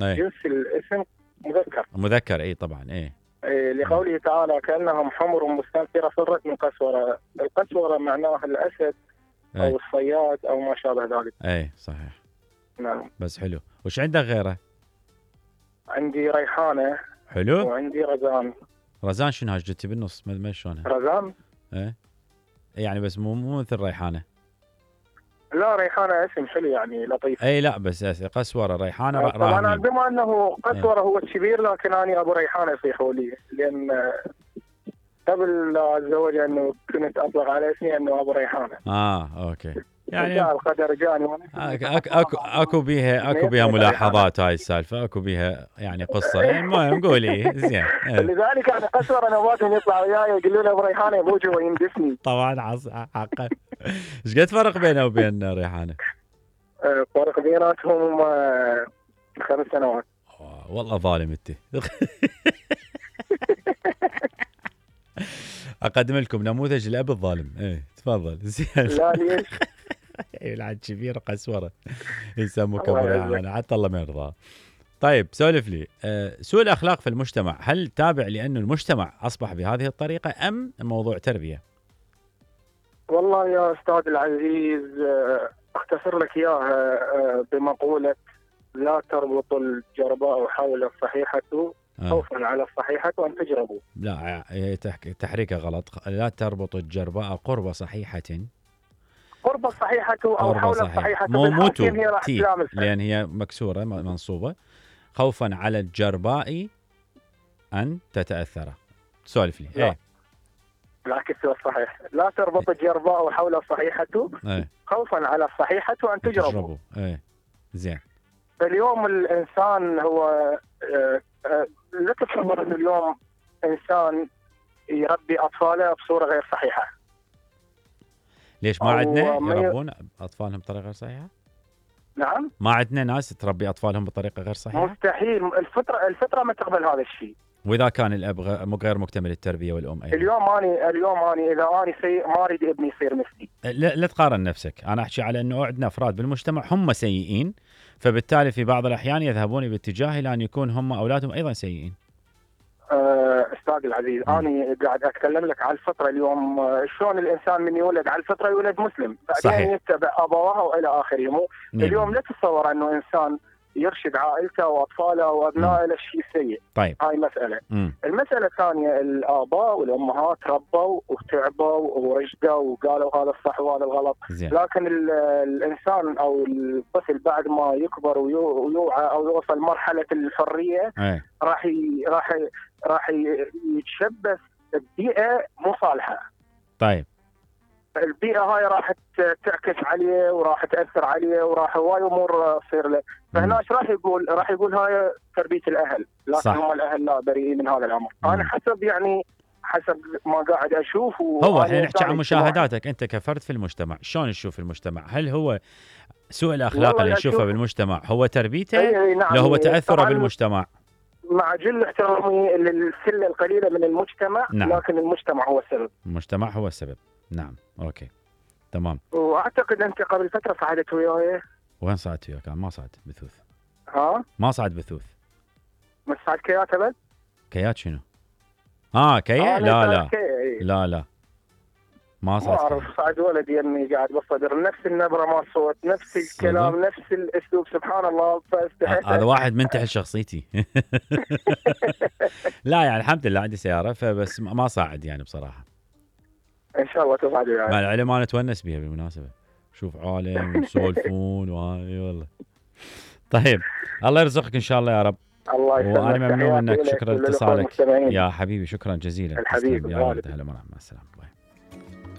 جنس الاسم مذكر. مذكر اي طبعا اي. لقوله تعالى كأنهم حمر مستنفرة فرت من قسورة. القسورة معناها الأسد أو الصياد أو ما شابه ذلك. اي صحيح. نعم. بس حلو. وش عندك غيره؟ عندي ريحانة. حلو. وعندي رزان. رزان شنو هاش جبتي بالنص ما شلونها؟ رزان؟ ايه يعني بس مو مثل ريحانة. لا ريحانة اسم حلو يعني لطيف. اي لا بس قسورة ريحانة طبعا بما انه قسورة هو الكبير لكن انا ابو ريحانة يصيحوا لي لان قبل لا اتزوج انه كنت اطلق على اسمي انه ابو ريحانه. اوكي. يعني القدر جاني اكو بيها ملاحظات هاي السالفه، اكو بيها يعني قصه. المهم قولي زين. لذلك انا قسوره نواتهم يطلعوا وياي يقولوا له ابو ريحانه ابوجي ويندفني. طبعا حقا. ايش قد فرق بينه وبين ريحانه؟ فرق بيناتهم 5 سنوات. والله ظالم انت. اقدم لكم نموذج الاب الظالم. ايه تفضل. زين. لا ليش؟ العاد كبير قسوره يسموك ابو ريحانه حتى الله ما يرضى. طيب سولف لي، سوء الاخلاق في المجتمع هل تابع لانه المجتمع اصبح بهذه الطريقه ام موضوع تربيه؟ والله يا استاذ العزيز اختصر لك اياها بمقوله لا تربط الجرباء حول الصحيحه خوفا على الصحيحه وان تجربوا. لا تحريكه غلط. لا تربط الجرباء قرب صحيحه. قرب الصحيحه او حول الصحيحه. مو تي لان هي مكسوره منصوبه. خوفا على الجرباء ان تتاثر. سولف لي. ايه العكس هو الصحيح. لا تربط الجرباء حول الصحيحه خوفا على الصحيحه وان تجربوا. ايه زين. اليوم الانسان هو لا تتصور انه اليوم انسان يربي اطفاله بصوره غير صحيحه. ليش ما عندنا يربون اطفالهم بطريقه غير صحيحه؟ نعم. ما عندنا ناس تربي اطفالهم بطريقه غير صحيحه؟ مستحيل. الفطره ما تقبل هذا الشيء. واذا كان الاب غير مكتمل التربيه والام ايضا. اليوم اني اذا اني سيء ما اريد ابني يصير مثلي. لا تقارن نفسك. انا احكي على انه عندنا افراد بالمجتمع هم سيئين، فبالتالي في بعض الاحيان يذهبون باتجاه الى ان يكون هم اولادهم ايضا سيئين. استاذ العزيز انا قاعد اتكلم لك على الفطره اليوم. شلون الانسان من يولد على الفطره يولد مسلم بعدين يتبع ابواه والى اخره. اليوم لا تتصور انه انسان يرشد عائلته واطفاله وابنائه للشيء السيء. طيب هاي مساله. المساله الثانيه الاباء والامهات ربوا وتعبوا ورشدوا وقالوا هذا الصح وهذا الغلط. لكن الانسان او الطفل بعد ما يكبر ويوعى او يوصل مرحله الحريه راح يتشبث ببيئه مو صالحه. طيب البيئه هاي راح تعكس عليه وراح تاثر عليه وراح هواي امور تصير له. فهنا ايش راح يقول هاي تربيه الاهل، لكن صح. هم الاهل لا بريئين من هذا الامر. انا حسب ما قاعد اشوف. هو احنا نحكي عن مشاهداتك انت كفرد في المجتمع، شلون تشوف المجتمع؟ هل هو سوء الاخلاق اللي نشوفه بالمجتمع هو تربيته؟ نعم. لو هو تاثره بالمجتمع؟ مع جل احترامي للسله القليله من المجتمع. نعم. لكن المجتمع هو السبب. المجتمع هو السبب. نعم اوكي تمام. واعتقد انت قبل فتره صعدت وياي. وين صعدت وياك؟ ما صعد بثوث. ما صعد بثوث. ما صعد كيات ابد؟ كيات شنو؟ كيا؟ لا ما صعد. ما اعرف. صعد ولد يمي قاعد بالصدر نفس النبره مال الصوت نفس الكلام نفس الاسلوب سبحان الله. هذا واحد منتحل شخصيتي. لا يعني الحمد لله عندي سياره فبس ما صعد يعني بصراحه. ان شاء الله تصعد يعني. مع العلم انا اتونس بها بالمناسبه. شوف عالم ويسولفون وهاي والله. طيب الله يرزقك ان شاء الله يا رب. الله يسلمك. وانا ممنون منك. شكرا لاتصالك يا حبيبي. شكرا جزيلا. الحبيب يا ولد. هلا مع السلامه.